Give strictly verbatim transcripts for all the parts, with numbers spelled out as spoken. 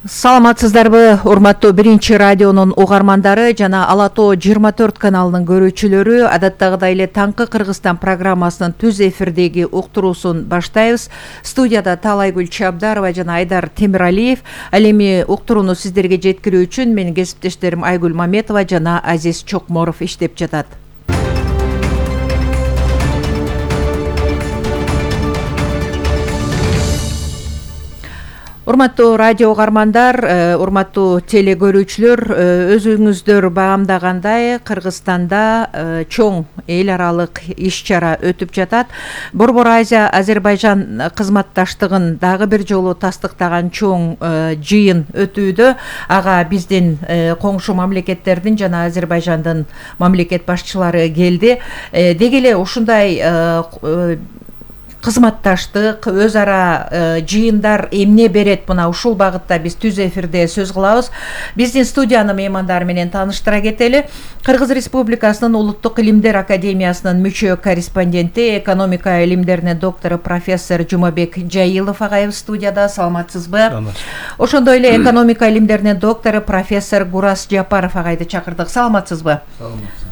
Саламатсыздарбы, урматтуу биринчи радионун угармандары жана Ала тоо жыйырма төрт каналынын көрүүчүлөрү. Адаттагыдай эле таңкы Кыргызстан программасынын түз эфирдеги уктуруусун баштайбыз. Студияда Таалайгүл Чабдарова жана Айдар Темиралиев. Ал эми уктурууну сиздерге жеткирүү үчүн менин кесиптештерим Айгүл Маметова жана Азиз Чокморов иштеп жатат. Урматтуу радио угармандар, урматтуу теле көрүүчүлөр, өзүңүздөр баамдагандай Кыргызстанда чоң эл аралык иш-чара өтүп жатат. Борбор Азия Азербайжан кызматташтыгын дагы бир жолу тастыктаган чоң жыйын өтүүдө. Ага биздин коңшу мамлекеттердин жана Азербайжандын мамлекет башчылары келди. Деги эле ушундай кызматташтык, өз ара жыйындар эмне берет, мына ушул багытта биз түз эфирде сөз кылабыз. Биздин студиянын меймандары менен тааныштыра кетели. Кыргыз Республикасынын Улуттук илимдер академиясынын мүчө корреспонденти, экономика илимдеринин доктору профессор Жумабек Жайылов агайыбыз студияда. Саламатсызбы? Ошондой эле экономика илимдеринин доктору профессор Гурас Жапаров агайды чакырдык. Саламатсызбы? Саламатсыз.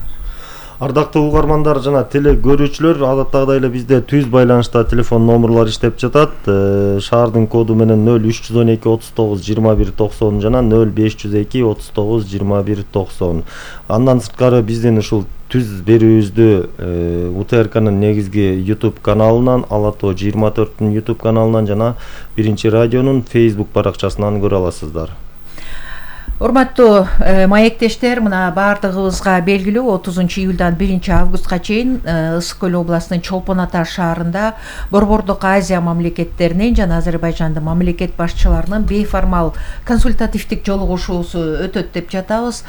Ардактуу угармандар жана теле көрүүчүлөр, адаттагыдай эле бизде түз байланышта телефон номерлор иштеп жатат. Шаардын коду менен нөл үч жүз он эки отуз тогуз жыйырма бир токсон жана нөл беш жүз эки отуз тогуз жыйырма бир токсон. Андан сырткары биздин ушул түз берүүбүздү У Т Р К'нын негизги YouTube каналынан, Ала тоо жыйырма төрттүн YouTube каналынан жана биринчи радионун Facebook баракчасынан көрө аласыздар. Урматтуу маектештер, мына баардыгыбызга белгилүү отузунчу июлдан биринчи августка чейин Ысык көл областынын Чолпон Ата шаарында Борбордук Азия мамлекеттеринин жана Азербайжандын мамлекет башчыларынын бейформал консультативдик жолугушуусу өтөт деп жатабыз.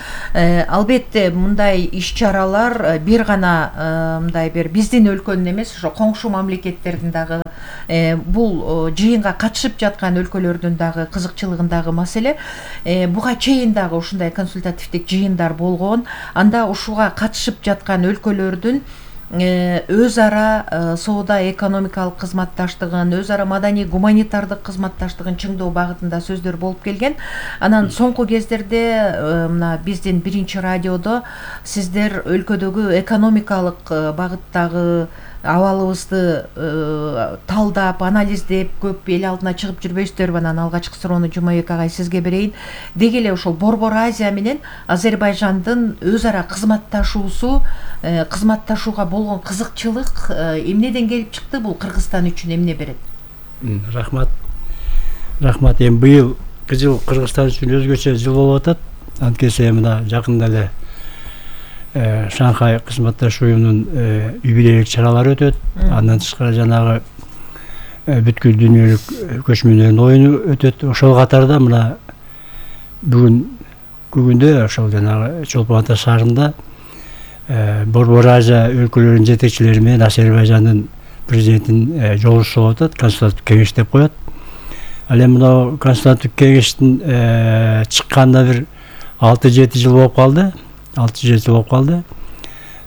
Албетте мындай иш-чаралар бир гана мындай бир биздин өлкөнүн эмес, ошо коңшу мамлекеттердин дагы бул жыйынга катышып жаткан өлкөлөрдүн дагы кызыкчылыгындагы маселе. Буга чейин дагы ушундай консультативдик жыйындар болгон. Анда ушуга катышып жаткан өлкөлөрдүн өз ара соода экономикалык кызматташтыгын, өз ара маданий гуманитардык кызматташтыгын чыңдоо багытында сөздөр болуп келген. Анан соңку кездерде мына биздин биринчи радиодо сиздер өлкөдөгү экономикалык багыттагы абалыбызды талдап, анализдеп, көп эл алдына чыгып жүрбөйсүздөрбү? Анан алгачкы суроону Жумабек агай сизге берейин. Деги эле ошол Борбор Азия менен Азербайжандын өз ара кызматташуусу, кызматташууга болгон кызыкчылык эмнеден келип чыкты? Бул Кыргызстан үчүн эмне берет? Рахмат. Рахмат. Эми быйыл жыл Кыргызстан үчүн өзгөчө жыл болуп атат. Анткени мына жакында эле Шанхай кызматташуу уюмунун юбилейлик чаралары өтөт. Андан тышкары жанагы бүткүл дүйнөлүк көчмөндөрдүн оюну өтөт. Ошол катарда мына бүгүн күгүндө ошол жанагы Чолпон Ата шаарында Борбор Азия өлкөлөрүнүн жетекчилери менен Азербайжандын президентинин жолугушуусу болуп атат. Консультативдик кеңеш деп коет. Ал эми мына консультативдик кеңештин чыкканына бир алты жети жыл болуп калды. алты жети жыл болуп калды.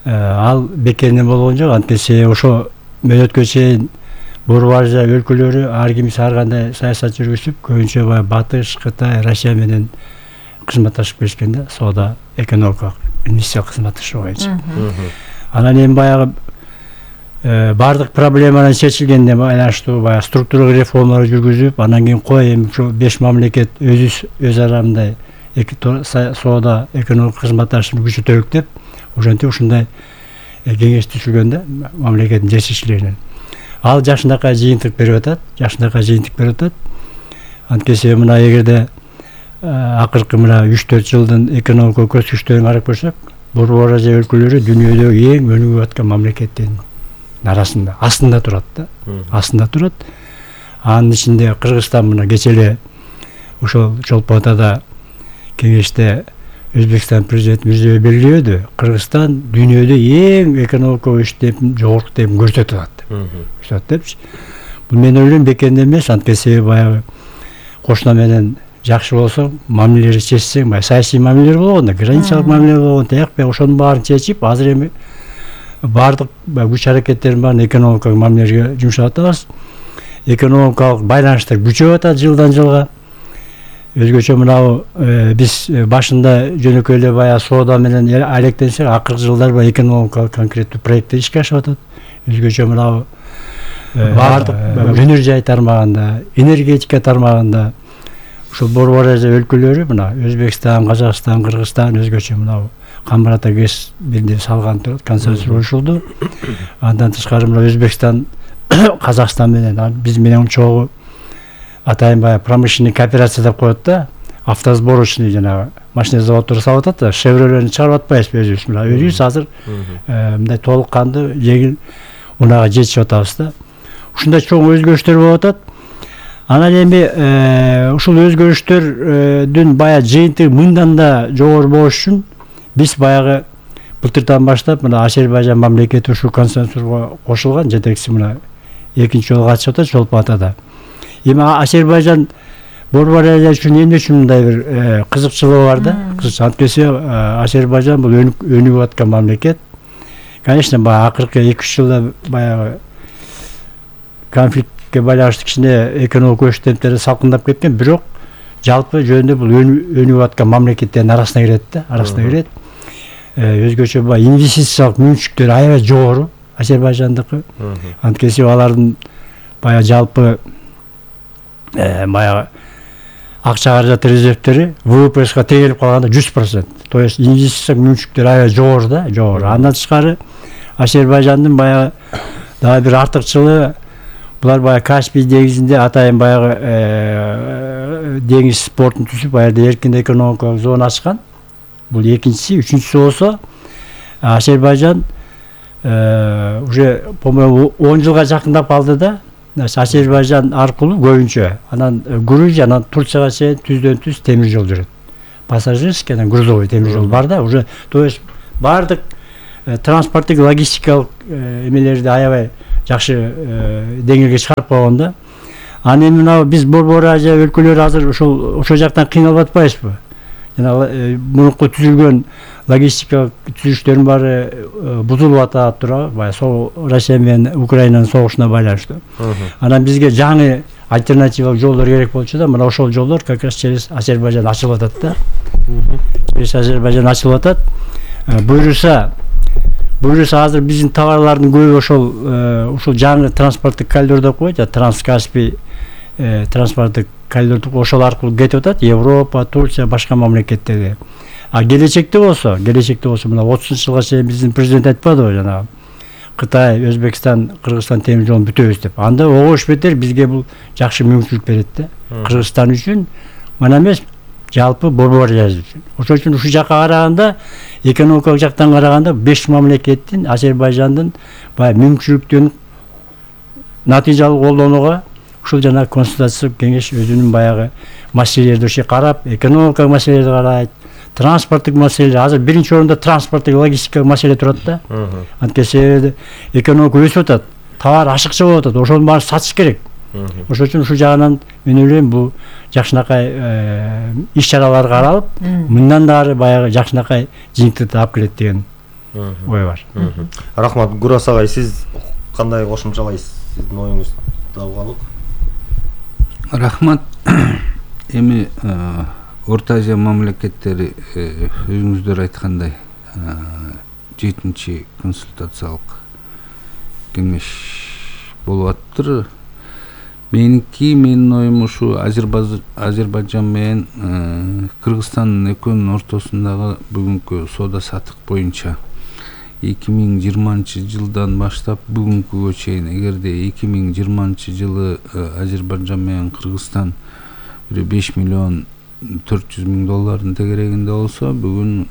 Ал бекеринен болгон жок. Анткени ошо мөөнөткө чейин Борбор Азия өлкөлөрү ар кимиси ар кандай саясат жүргүзүп, көбүнчө бай Батыш, Кытай, Россия менен кызматташып келишкен да, соода, экономикалык, инвестициялык кызматташуу боюнча. Анан эми баягы бардык проблемалар чечилгенден байланыштуу баягы структуралык реформалар жүргүзүп, анан кийин кой эми ушу беш мамлекет өзү өз ара мындай соода, экономикалык кызматташууну күчөтөлүк деп, ошентип ушундай кеңеш түзүлгөн да мамлекеттин жетекчилеринен. Ал жакшынакай жыйынтык берип атат, жакшынакай жыйынтык берип атат. Анткени мына эгерде акыркы мына үч төрт жылдын экономикалык көрсөткүчтөрүн карап көрсөк, Борбор Азия өлкөлөрү дүйнөдөгү эң өнүгүп аткан мамлекеттердин арасында, астында турат да, астында турат. Анын ичинде Кыргызстан мына кечээ эле ошол Чолпон Атада кеңеште Өзбекстан президенти Мирзиёев белгилөөдү. Кыргызстан дүйнөдө эң экономикалык өсүштүн жогорку темпин көрсөтүп атат. Көрсөтөт депчи. Бул мен ойлойм бекеринен эмес, анткени баягы кошуна менен жакшы болсоң, мамилелерди чечсең, баягы саясий мамилелер болгон да, границалык мамилелер болгон, тияк баягы ошонун баарын чечип, азыр эми бардык күч аракеттердин баарын экономикалык мамилелерге жумшап атабыз. Экономикалык байланыштар күчөп атат жылдан жылга. өзгөчө мынау биз башында жөнөкөй эле баягы соода менен алектенсек, акыркы жылдар баягы экономикалык конкреттүү проекттер ишке ашып атат. Өзгөчө мынау баардык өнөр жай тармагында, энергетика тармагында ушул Борбор Азия өлкөлөрү мына Өзбекстан, Казакстан, Кыргызстан өзгөчө мынау Камбарата ГЭС биринде салган турат, консенсус болушулду. Андан тышкары мына Өзбекстан, Казакстан менен биз менен чогуу атайын баягы промышленный кооперация деп коет да, автосборочный жанагы машина заводдору салып атат да, Chevrolet'ни чыгарып атпайбызбы өзүбүз? Мына өзүбүз азыр мындай толук кандуу жеңил унага жетишип атабыз да. Ушундай чоң өзгөрүштөр болуп атат. Анан эми ушул өзгөрүштөрдүн баягы жыйынтыгы мындан да жогору болуш үчүн биз баягы былтырдан баштап мына Азербайжан мамлекети ушул консенсусга кошулган, жетекчиси мына экинчи жолу катышып атат Чолпон Атада. Эми Азербайжан Борбор Азия үчүн эмне үчүн мындай бир кызыкчылыгы бар да? Анткени Азербайжан бул өнүгүп аткан мамлекет. Конечно, баягы акыркы эки үч жылда баягы конфликтке байланыштуу кичине экономик өсүштөр салкындап кеткен, бирок жалпы жөнүндө бул өнүгүп аткан мамлекеттердин арасына кирет да, арасына кирет. Өзгөчө баягы инвестициялык мүмкүнчүлүктөрү аябай жогору Азербайжандыкы. Анткени алардын баягы жалпы баягы акча каражат резервтери ВВПга тегелип калганда жүз процент. То есть инвестициялык мүмкүнчүлүктөрү аябай жогору да, жогору. Андан тышкары Азербайжандын баягы дагы бир артыкчылыгы, булар баягы Каспий деңизинде атайын баягы деңиз портун түзүп, баягы эркин экономикалык зона ачкан. Бул экинчиси, үчүнчүсү болсо Азербайжан уже по-моему он жылга жакындап калды да. Азербайжан аркылуу көбүнчө, анан Грузия, анан Турцияга чейин түздөн түз темир жол жүрөт. Пассажирский, анан грузовой темир жол бар да, уже то есть баардык транспорттук, логистикалык эмелерди аябай жакшы деңгээлге чыгарып койгон да. Анан эми мына биз Борбор Азия өлкөлөрү азыр ушул ошол жактан кыйналып атпайбызбы? Жана мурунку түзүлгөн логистикалык түзүштөрдүн баары бузулуп атат туурабы? Баягы Россия менен Украинанын согушуна байланыштуу. Анан бизге жаңы альтернативалык жолдор керек болчу да, мына ошол жолдор как раз через Азербайжан ачылып атат да. Через Азербайжан ачылып атат. Буюрса, буюрса азыр биздин товарлардын көбү ошол ушул жаңы транспорттук коридор деп коет, Транскаспий транспорттук коридор ошол аркылуу кетип атат, Европа, Турция, башка мамлекеттерге. А келечекте болсо, келечекте болсо мына отузунчу жылга чейин биздин президент айтпадыбы, жанагы Кытай, Өзбекстан, Кыргызстан темир жолун бүтөбүз деп. Анда огош бетер бизге бул жакшы мүмкүнчүлүк берет да. Кыргызстан үчүн мына эмес, жалпы Борбор Азия үчүн. Ошол үчүн ушул жакка караганда, экономикалык жактан караганда беш мамлекеттин Азербайжандын баягы мүмкүнчүлүктөрүн натыйжалуу колдонууга ушул жана консультациялык кеңеш өзүнүн баягы маселелерди ошо карап, экономикалык маселелерди карайт, транспорттук маселелер. Азыр биринчи орунда транспорттук, логистикалык маселе турат да. Анткени себеби экономика өсүп атат, товар ашыкча болуп атат, ошонун баарын сатыш керек. Ошол үчүн ушул жагынан мен ойлойм бул жакшынакай иш чаралар каралып, мындан да ары баягы жакшынакай жыйынтыкты алып келет деген ой бар. Рахмат, Гурас агай, сиз кандай кошумчалайсыз? Сиздин оюңуз табылып? Рахмат. Эми Орто Азия мамлекеттери өзүңүздөр айткандай жетинчи консультациялык кеңеш болуп атыптыр. Меники, менин оюм ушу Азербайжан менен Кыргызстан экөөнүн ортосундагы бүгүнкү соода саттык боюнча эки миң жыйырманчы жылдан баштап бүгүнкүгө чейин, эгерде эки миң жыйырманчы жылы Азербайжан менен Кыргызстан беш миллион төрт жүз миң доллардын тегерегинде болсо, бүгүн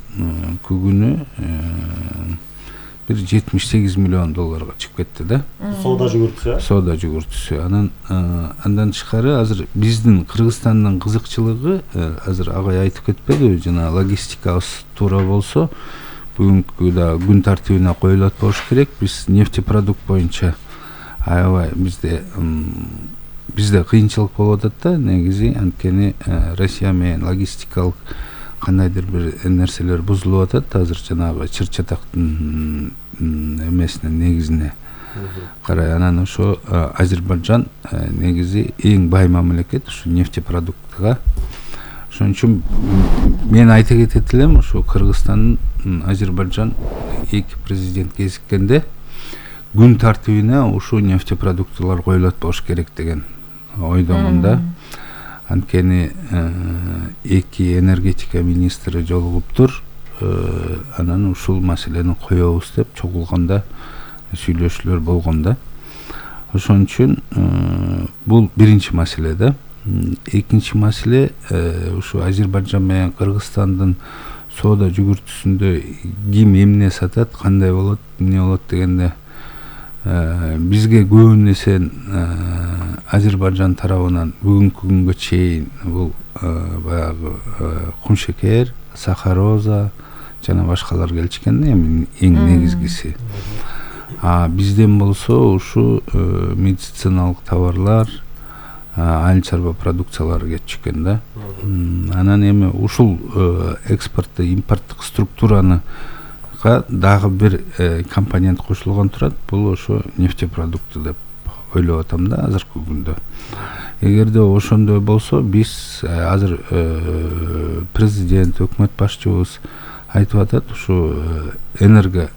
күгүнү бир жетимиш сегиз миллион долларга чыгып кетти да. Соода жүгүртүсү. Соода жүгүртүсү. Анан андан тышкары азыр биздин Кыргызстандын кызыкчылыгы, азыр агай айтып кетпедиби, жана логистикабыз туура болсо, бүгүнкү да күн тартибине коюлат болуш керек. Биз нефтепродукт боюнча аябай бизде бизде кыйынчылык болуп атат да, негизи, анткени Россия менен логистикалык кандайдыр бир нерселер бузулуп атат. Азыр жанагы чыр чатактын эмесине, негизине карай. Анан ошо Азербайжан негизи эң бай мамлекет ушу нефтепродуктка. Ошон үчүн мен айта кетет элем, ошо Кыргызстан, Азербайжан эки президент кезиккенде күн тартибине ушул нефтепродуктылар коюлат болуш керек деген ойдомун да. Анткени эки энергетика министри жолугуптур, анан ушул маселени коебуз деп чогулганда сүйлөшүүлөр болгон да. Ошон үчүн бул биринчи маселе да. Экинчи маселе ушу Азербайжан менен Кыргызстандын соода жүгүртүүсүндө ким эмне сатат, кандай болот, эмне болот дегенде бизге көбүн эсе Азербайжан тарабынан бүгүнкү күнгө чейин бул баягы кумшекер, сахароза жана башкалар келишкен да, эми эң негизгиси. А бизден болсо ушу медициналык товарлар, айыл чарба продукциялары кетчү экен да. Анан эми ушул экспортту, импорттук структураны дагы бир компонент кошулган турат. Бул ошо нефтепродукты деп ойлоп атам да азыркы күндө. Эгерде ошондой болсо, биз азыр президент, өкмөт башчыбыз айтып атат, ушу энерго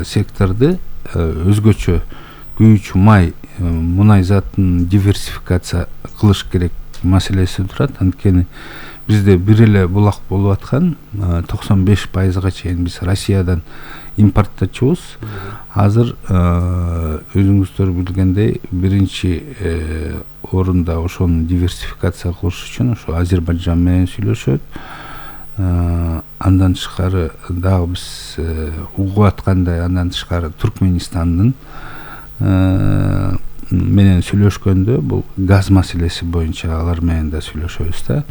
секторду өзгөчө күйүүчү май, мунай затын диверсификация кылыш керек маселеси турат. Анткени бизде бир эле булак болуп аткан, токсон беш пайызга чейин биз Россиядан импортточубуз. Азыр өзүңүздөр билгендей биринчи орунда ошону диверсификация кылыш үчүн ошо Азербайжан менен сүйлөшөт. Андан тышкары дагы биз угуп аткандай, андан тышкары Түркменистандын менен сүйлөшкөндө бул газ маселеси боюнча алар менен да сүйлөшөбүз да.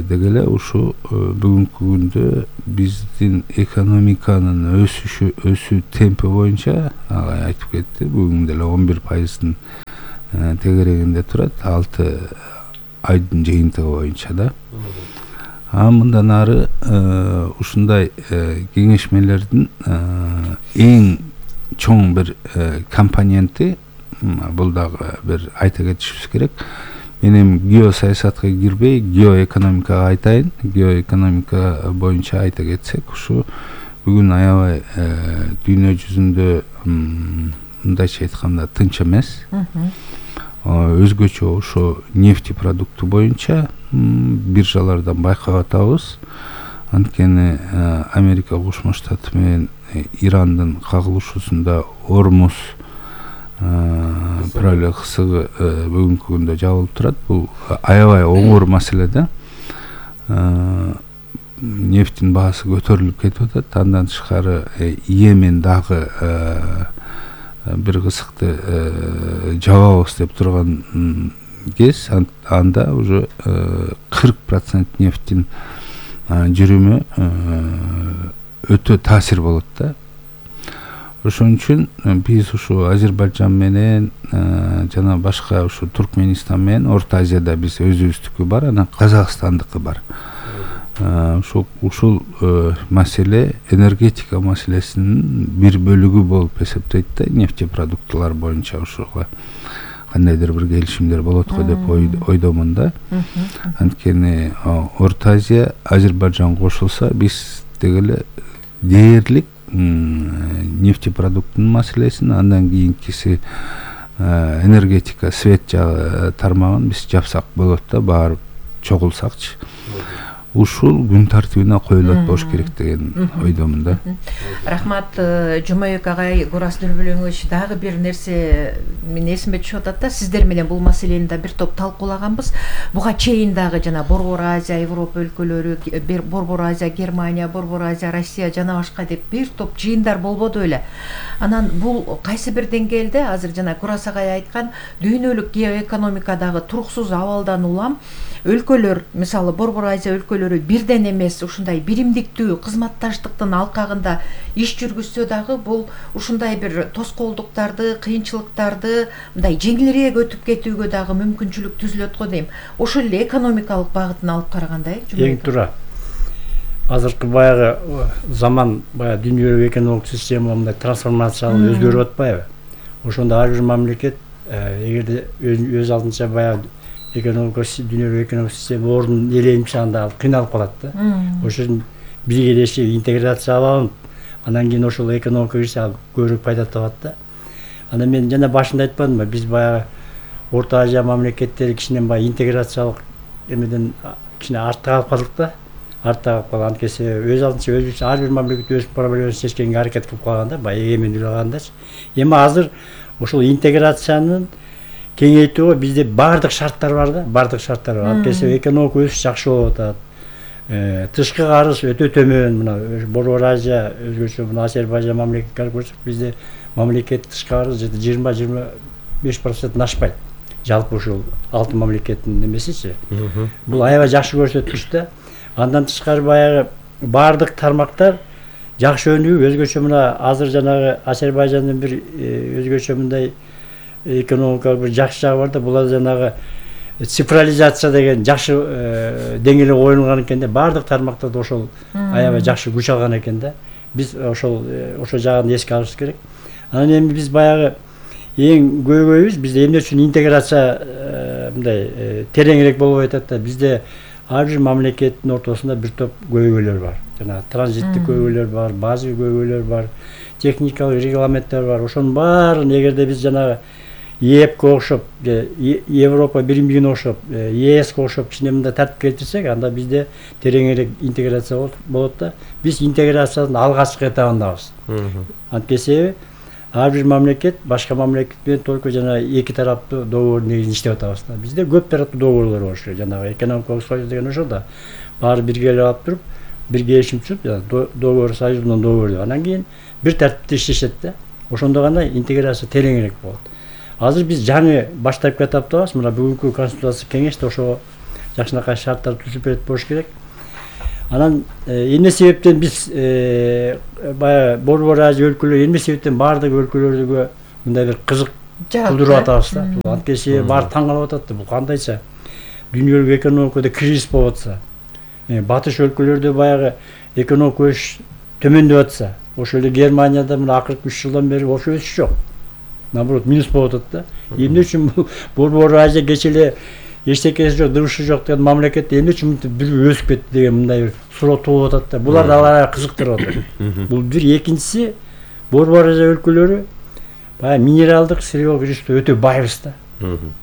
Деги эле ушу бүгүнкү күндө биздин экономиканын өсүшү, өсүү темпи боюнча агай айтып кетти, бүгүн деле он бир пайыздын тегерегинде турат, алты айдын жыйынтыгы боюнча да. А мындан ары ушундай кеңешмелердин эң чоң бир компоненти, бул дагы бир айта кетишибиз керек. Мен эми геосаясатка кирбей, геоэкономикага айтайын. Геоэкономика боюнча айта кетсек, ушу бүгүн аябай дүйнө жүзүндө мындайча айтканда тынч эмес. Өзгөчө ошо нефтепродукты боюнча биржалардан байкап атабыз. Анткени Америка Кошмо Штаты менен Ирандын кагылышуусунда Ормуз проле кысыгы бүгүнкү күндө жабылып турат. Бул аябай оңор маселе да. Нефтин баасы көтөрүлүп кетип атат. Андан тышкары Йемен дагы бир кысыкты жабабыз деп турган кез, анда уже кырк процент нефтин жүрүмү өтө таасир болот да. Ошон үчүн биз ушу Азербайжан менен жана башка ушу Түркменистан менен Орто Азияда биз өзүбүздүкү бар, анан Казакстандыкы бар. Ушул ушул маселе энергетика маселесинин бир бөлүгү болуп эсептейт да, нефтепродуктылар боюнча ушуга кандайдыр бир келишимдер болот го деп ойдомун да. Анткени Орто Азия, Азербайжан кошулса, биз деги эле дээрлик нефтепродуктунун маселесин, андан кийинкиси энергетика, свет жагы тармагын биз жапсак болот да, барып чогулсакчы. Ушул күн тартибине коюлат болуш керек деген ойдомун да. Рахмат, Жумабек агай, Гурас Дүрбөлөңүч, дагы бир нерсе мен эсиме түшүп атат да, сиздер менен бул маселени да бир топ талкуулаганбыз. Буга чейин дагы жана Борбор Азия, Европа өлкөлөрү, Борбор Азия, Германия, Борбор Азия, Россия жана башка деп бир топ жыйындар болбоду беле. Анан бул кайсы бир деңгээлде азыр жана Гурас агай айткан дүйнөлүк геоэкономикадагы туруксуз абалдан улам өлкөлөр, мисалы Борбор Азия өлкөлөрү бирден эмес ушундай биримдиктүү кызматташтыктын алкагында иш жүргүзсө дагы бул ушундай бир тоскоолдуктарды, кыйынчылыктарды мындай жеңилирээк өтүп кетүүгө дагы мүмкүнчүлүк түзүлөт го дейм. Ошол эле экономикалык багытын алып караганда эң туура. Азыркы баягы заман, баягы дүйнөлүк экономикалык система мындай трансформацияланып өзгөрүп атпайбы? Ошондо ар бир мамлекет эгерде өз алдынча баягы экономикасы дүйнөлүк экономикалык система ордун ээленип анда кыйналып калат да. Ошол үчүн биргелешип интеграцияланып, анан кийин ошол экономика кирсе көбүрөөк пайда табат да. Анан мен жана башында айтпадымбы, биз баягы Орто Азия мамлекеттери кичинен баягы интеграциялык эмеден кичине артта калып калдык да. Артта калып калган, анткени өз алдынча өзүбүз ар бир мамлекет өз проблемасын чечкенге аракет кылып калганда, баягы эгемендүүлүк алгандачы. Эми азыр ошол интеграциянын кеңейтүүгө бизде баардык шарттар бар да, баардык шарттар бар. Анткени экономика өсүш жакшы болуп атат. Тышкы карыз өтө төмөн, мына Борбор Азия өзгөчө мына Азербайжан мамлекетке көрсөк, бизде мамлекет тышкы карыз жыйырма жыйырма беш проценттен ашпайт. Жалпы ушул алты мамлекеттин немесичи. Бул аябай жакшы көрсөткүч да. Андан тышкары баягы баардык тармактар жакшы өнүгүп, өзгөчө мына азыр жанагы Азербайжандын бир өзгөчө мындай экономикалык бир жакшы жагы бар да, булар жанагы цифрализация деген жакшы деңгээлге коюлган экен да, баардык тармактарда ошол аябай жакшы күч алган экен да. Биз ошол ошол жагын эске алышыбыз керек. Анан эми биз баягы эң көйгөйүбүз бизде эмне үчүн интеграция мындай тереңирээк болуп атат да. Бизде ар бир мамлекеттин ортосунда бир топ көйгөйлөр бар. Жана транзиттик көйгөйлөр бар, базовый көйгөйлөр бар, техникалык регламенттер бар. Ошонун баарын эгерде биз жанагы ЕЭПке окшоп, Европа биримдигине окшоп, ЕСке окшоп кичине мындай тартип келтирсек, анда бизде тереңирээк интеграция болот да. Биз интеграциянын алгачкы этабындабыз. Анткени ар бир мамлекет башка мамлекет менен только жана эки тараптуу договордун негизинде иштеп атабыз да. Бизде көп тараптуу договорлор болуш керек. Жанагы экономикалык союз деген ошол да. Баары бирге алып туруп, бир келишим түзүп, договор союзунан договор деп. Анан кийин бир тартипте иштешет да. Ошондо гана интеграция тереңирээк болот. Азыр биз жаңы баштап кетиптабыз. Мына бүгүнкү конституциялык кеңеште ошо жакшынакай шарттар түзүп берет болуш керек. Анан эмне себептен биз баягы Борбор Азия өлкөлөрү эмне себептен баардык өлкөлөргө мындай бир кызык кылдырып атабыз да. Анткени баары таң калып атат да, бул кандайча дүйнөлүк экономикада кризис болуп атса, батыш өлкөлөрдө баягы экономика өсүш төмөндөп атса, ошол эле Германияда мына акыркы үч жылдан бери ошо өсүш жок. Наоборот, минус болуп атат да. Эмне үчүн Борбор Азия кече эле эчтекеси жок, дыбышы жок деген мамлекетте эмне үчүн бир өсүп кетти деген мындай бир суроо туулуп атат да. Булар да алар кызыктырып атат. Бул бир, экинчиси Борбор Азия өлкөлөрү баягы минералдык сырьеолог ресурста өтө байбыз да.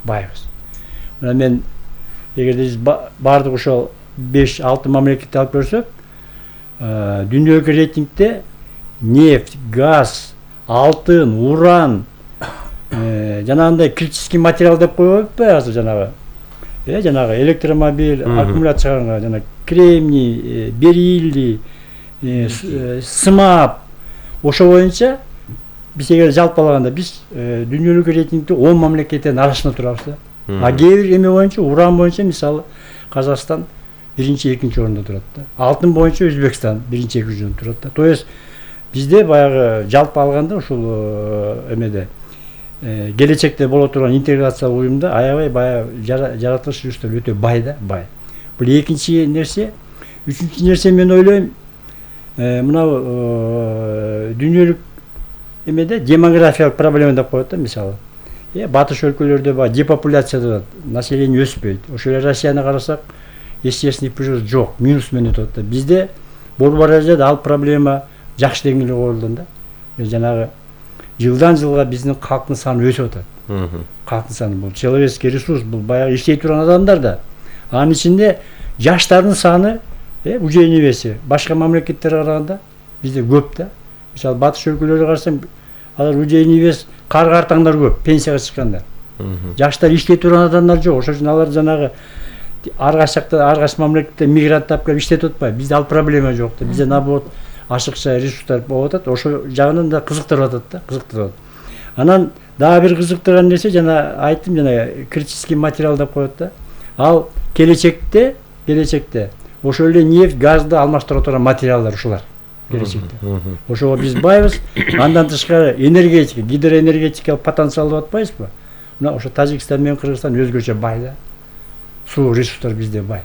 Байбыз. Мына мен эгерде биз баардык ошол беш алты мамлекетти алып көрсөк, дүйнөлүк рейтингде нефть, газ, алтын, уран, жанагындай критический материал деп коюп атпайбы азыр жанагы? Э, жанагы электромобиль, аккумулятор чыгарганга жана кремний, бериллий, сымап, ошо боюнча биз эгер жалпылаганда биз дүйнөлүк рейтингде он мамлекеттен арасында турабыз да. А кээ бир эме боюнча, уран боюнча мисалы Казакстан биринчи, экинчи орунда турат да. Алтын боюнча Өзбекстан биринчи, экинчи орунда турат да. То есть бизде баягы жалпы алганда ушул эмеде келечекте боло турган интеграциялык уюмда аябай баягы жаратылыш ресурстар өтө бай да, бай. Бул экинчи нерсе. Үчүнчү нерсе мен ойлойм, мына дүйнөлүк эмеде демографиялык проблема деп коет да, мисалы. Э, батыш өлкөлөрдө баягы депопуляция болот, население өспөйт. Ошол эле Россияны карасак, естественный прирост жок, минус менен өтөт да. Бизде Борбор Азияда ал проблема жакшы деңгээлде коюлган да. Жанагы жылдан жылга биздин калктын саны өсүп атат. Калктын саны бул человеческий ресурс, бул баягы иштей турган адамдар да. Анын ичинде жаштардын саны, э, уже небеси башка мамлекеттерге караганда бизде көп да. Мисалы батыш өлкөлөрүгө карасаң, алар уже небес кар-картаңдар көп, пенсияга чыккандар. Жаштар иштей турган адамдар жок. Ошол үчүн алар жанагы ар кайсы жакта, ар кайсы мамлекетте мигрант тап келип иштетип атпайбы. Бизде ал проблема жок да. Бизде наоборот ашыкча ресурстар болуп атат. Ошол жагынан да кызыктырып атат да, кызыктырып. Анан дагы бир кызыктырган нерсе, жана айттым, жана критический материал деп коет да. Ал келечекте, келечекте ошол эле нефть, газды алмаштыра турган материалдар ушулар. Келечекте. Ошого биз байбыз. Андан тышкары энергетика, гидроэнергетикалык потенциал деп атпайбызбы? Мына ошо Тажикстан менен Кыргызстан өзгөчө бай да. Суу ресурстар бизде бай.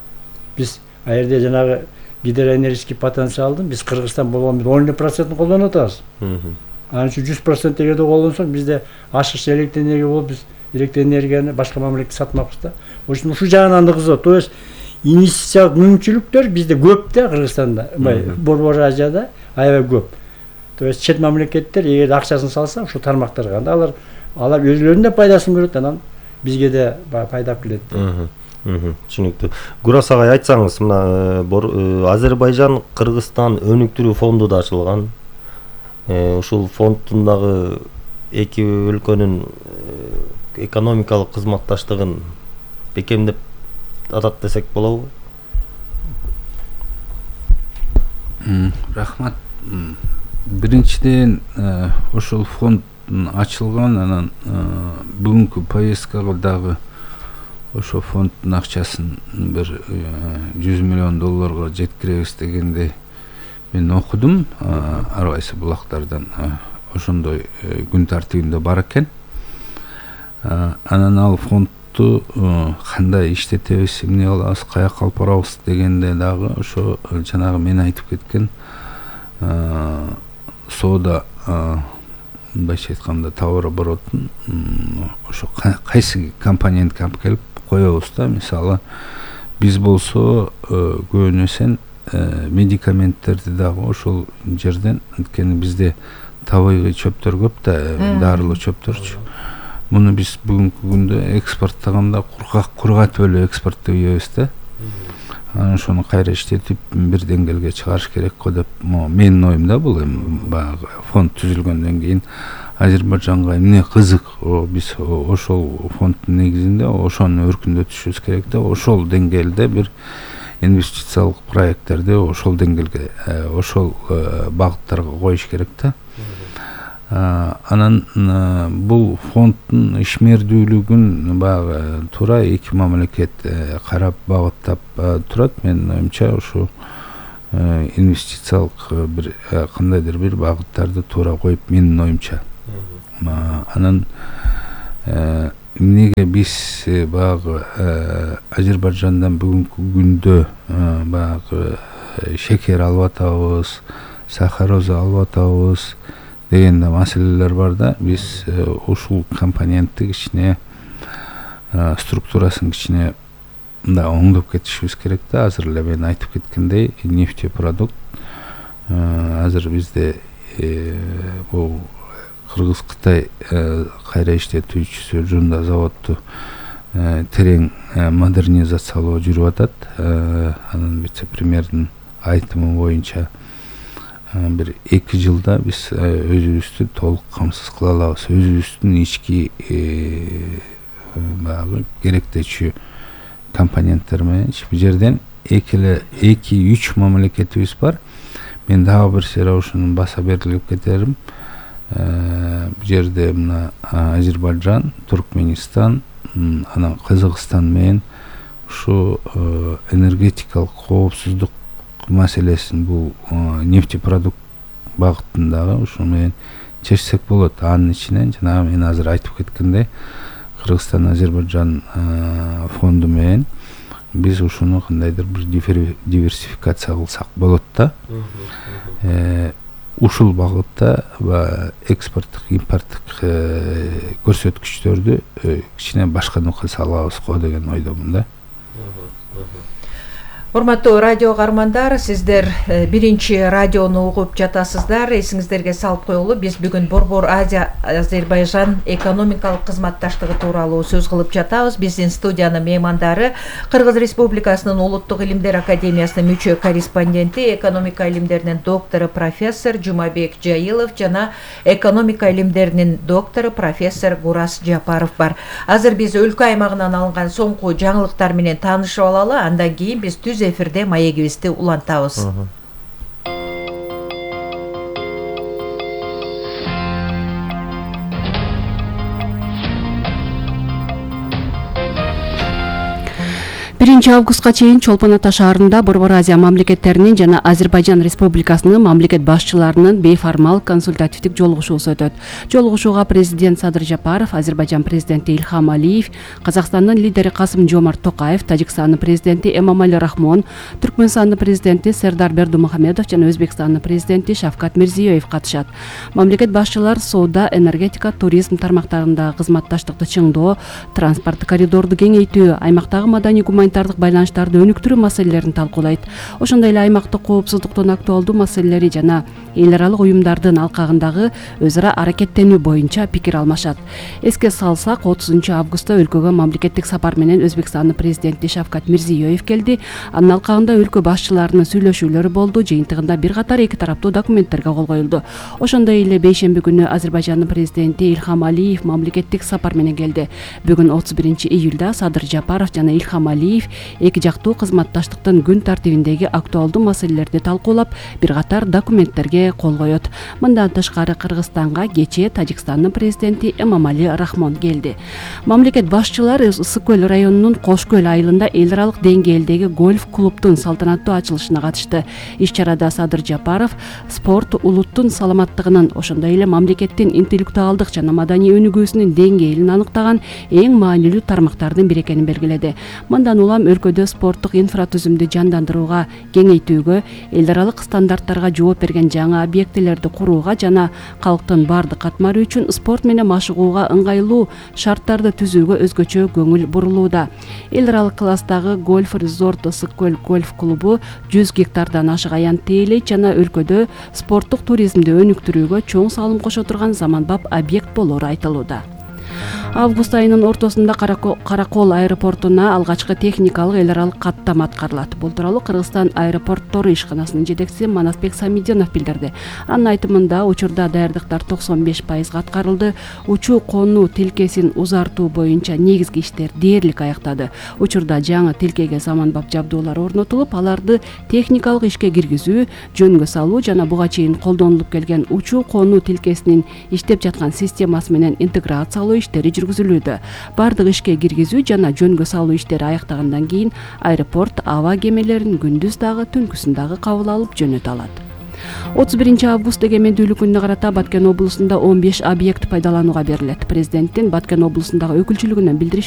Биз а жерде жанагы гидроэнергетический потенциалдын биз Кыргызстан болгон бир он эле процентин колдонуп атабыз. Анын үчүн жүз процент эгерде колдонсок, бизде ашыкча электр энергия болуп, биз электр энергияны башка мамлекетке сатмакпыз да. Ошон ушул жагынан да кызык. То есть инвестициялык мүмкүнчүлүктөр бизде көп да, Кыргызстанда, мындай Борбор Азияда аябай көп. То есть чет мамлекеттер эгер акчасын салса, ушул тармактарга анда алар алар өзүлөрүнүн да пайдасын көрөт, анан бизге да пайда алып келет. Түшүнүктүү. Гурас агай, айтсаңыз, мына Азербайжан Кыргызстан өнүктүрүү фонду да ачылган. Ушул фонддун дагы эки өлкөнүн экономикалык кызматташтыгын бекемдеп атат десек болобу? Рахмат. Биринчиден, ошол фонд ачылган, анан бүгүнкү повесткага дагы ошо фонддун акчасын бир жүз миллион долларга жеткиребиз дегенде мен окудум. Ар кайсы булактардан ошондой күн тартибинде бар экен. Анан ал фондду кандай иштетебиз, эмне кылабыз, каяка алып барабыз дегенде дагы ошо жанагы мен айтып кеткен соода, башка айтканда товарооборотун ошо кайсы компонентке алып келип коебуз да. Мисалы, биз болсо көбүнөсен медикаменттерди дагы ошол жерден, анткени бизде табигый чөптөр көп да, дарылуу чөптөрчү. Муну биз бүгүнкү күндө экспорттогондо кургак кургатып эле экспорттоп ийебиз да. Анан ошону кайра иштетип бир деңгээлге чыгарыш керек го деп менин оюм да. Бул эми баягы фонд түзүлгөндөн кийин Азербайжанга эмне кызык, биз ошол фонддун негизинде ошону өркүндөтүшүбүз керек да. Ошол деңгээлде бир инвестициялык проекттерди ошол деңгээлге, ошол багыттарга коюш керек да. Анан бул фонддун ишмердүүлүгүн баягы туура эки мамлекет карап багыттап турат. Менин оюмча ушу инвестициялык бир кандайдыр бир багыттарды туура коюп, менин оюмча. Анан эмнеге биз баягы Азербайжандан бүгүнкү күндө баягы шекер алып атабыз, сахароза алып атабыз деген да маселелер бар да. Биз ушул компонентти кичине структурасын кичине да оңдоп кетишибиз керек да. Азыр эле мен айтып кеткендей, нефтепродукт азыр бизде бул Кыргыз-Кытай кайра иштетүүчүсү жунда заводду терең модернизациялоо жүрүп атат. Анан вице-премьердин айтымы боюнча бир эки жылда биз өзүбүздү толук камсыз кыла алабыз. Өзүбүздүн ички баягы керектечү компоненттер менен. Бул жерден эки эле эки үч мамлекетибиз бар. Мен дагы бир сыйра ушуну баса берилип кетерим. Бул жерде мына Азербайжан, Туркменистан, анан Кыргызстан менен ушу энергетикалык коопсуздук маселесин, бул нефтепродукт багытындагы ушу менен чечсек болот. Анын ичинен жанагы мен азыр айтып кеткендей Кыргызстан Азербайжан фонду менен биз ушуну кандайдыр бир диверсификация кылсак болот да. Ушул багытта экспорттук, импорттук көрсөткүчтөрдү кичине башка нукка салабыз го деген ойдомун да. Урматтуу радио каармандар, сиздер биринчи радиону угуп жатасыздар. Эсиңиздерге салып коелу, биз бүгүн Борбор Азия Азербайжан экономикалык кызматташтыгы тууралуу сөз кылып жатабыз. Биздин студиянын меймандары Кыргыз Республикасынын Улуттук илимдер академиясынын мүчө корреспонденти, экономика илимдеринин доктору профессор Жумабек Жайылов жана экономика илимдеринин доктору профессор Гурас Жапаров бар. Азыр биз өлкө аймагынан алынган соңку жаңылыктар менен таанышып алалы, андан кийин биз түз эфирде маегибизди улантабыз. биринчи августка чейин Чолпон Ата шаарында Борбор Азия мамлекеттеринин жана Азербайжан Республикасынын мамлекет башчыларынын бейформал консультативдик жолугушуусу өтөт. Жолугушууга президент Садыр Жапаров, Азербайжан президенти Ильхам Алиев, Казакстандын лидери Касым Жомарт Токаев, Тажикстандын президенти Эмомали Рахмон, Түркмөнстандын президенти Сердар Бердымухамедов жана Өзбекстандын президенти Шавкат Мирзиёев катышат. Мамлекет башчылар соода, энергетика, туризм тармактарындагы кызматташтыкты чыңдоо, транспорт коридорду кеңейтүү, аймактагы маданий гуманитардык байланыштарды өнүктүрүү маселелерин талкуулайт. Ошондой эле аймактык коопсуздуктун актуалдуу маселелери жана эл аралык уюмдардын алкагындагы өз ара аракеттенүү боюнча пикир алмашат. Эске салсак, отузунчу августта өлкөгө мамлекеттик сапар менен Өзбекстандын президенти Шавкат Мирзиёев келди. Анын алкагында өлкө башчыларынын сүйлөшүүлөрү болду. Жыйынтыгында бир катар эки тараптуу документтерге кол коюлду. Ошондой эле бейшемби күнү Азербайжандын президенти Ильхам Алиев мамлекеттик сапар менен келди. Бүгүн отуз биринчи июлда Садыр Жапаров жана Ильхам Алиев эки жактуу кызматташтыктын күн тартибиндеги актуалдуу маселелерди талкуулап, бир катар документтерге кол коет. Мындан тышкары Кыргызстанга кечээ Тажикстандын президенти Эмомали Рахмон келди. Мамлекет башчылар Ысык көл районунун Кош көл айылында эл аралык деңгээлдеги гольф клубдун салтанаттуу ачылышына катышты. Иш-чарада Садыр Жапаров спорт улуттун саламаттыгынын, ошондой эле мамлекеттин интеллектуалдык жана маданий өнүгүүсүнүн деңгээлин аныктаган эң маанилүү тармактардын бири экенин белгиледи. Мындан улам өлкөдө спорттук инфратүзүмдү жандандырууга, кеңейтүүгө, эл аралык стандарттарга жооп берген жаңы объектилерди курууга жана калктын бардык катмары үчүн спорт менен машыгууга ыңгайлуу шарттарды түзүүгө өзгөчө көңүл бурулууда. Эл аралык класстагы гольф резорт Ысык көл гольф клубу жүз гектардан ашык аян тейлейт жана өлкөдө спорттук туризмди өнүктүрүүгө чоң салым кошо турган заманбап объект болору айтылууда. Август айынын ортосунда Каракол аэропортуна алгачкы техникалык эл аралык каттама аткарылат. Бул тууралуу Кыргызстан аэропорттору ишканасынын жетекчиси Манасбек Самидинов билдирди. Анын айтымында, учурда даярдыктар токсон беш пайызга аткарылды. Учуу конуу тилкесин узартуу боюнча негизги иштер дээрлик аяктады. Учурда жаңы тилкеге заманбап жабдуулар орнотулуп, аларды техникалык ишке киргизүү, жөнгө салуу жана буга чейин колдонулуп келген учуу конуу тилкесинин иштеп жаткан системасы менен интеграциялоо иштери жүргүзүлүүдө. Бардык ишке киргизүү жана жөнгө салуу иштери аяктагандан кийин аэропорт аба кемелерин күндүз дагы түнкүсүн дагы кабыл алып жөнөтө алат. отуз биринчи август эгемендүүлүк күнүнө карата Баткен облусунда он беш объект пайдаланууга берилет. Президенттин Баткен облусундагы өкүлчүлүгүнөн билдиришке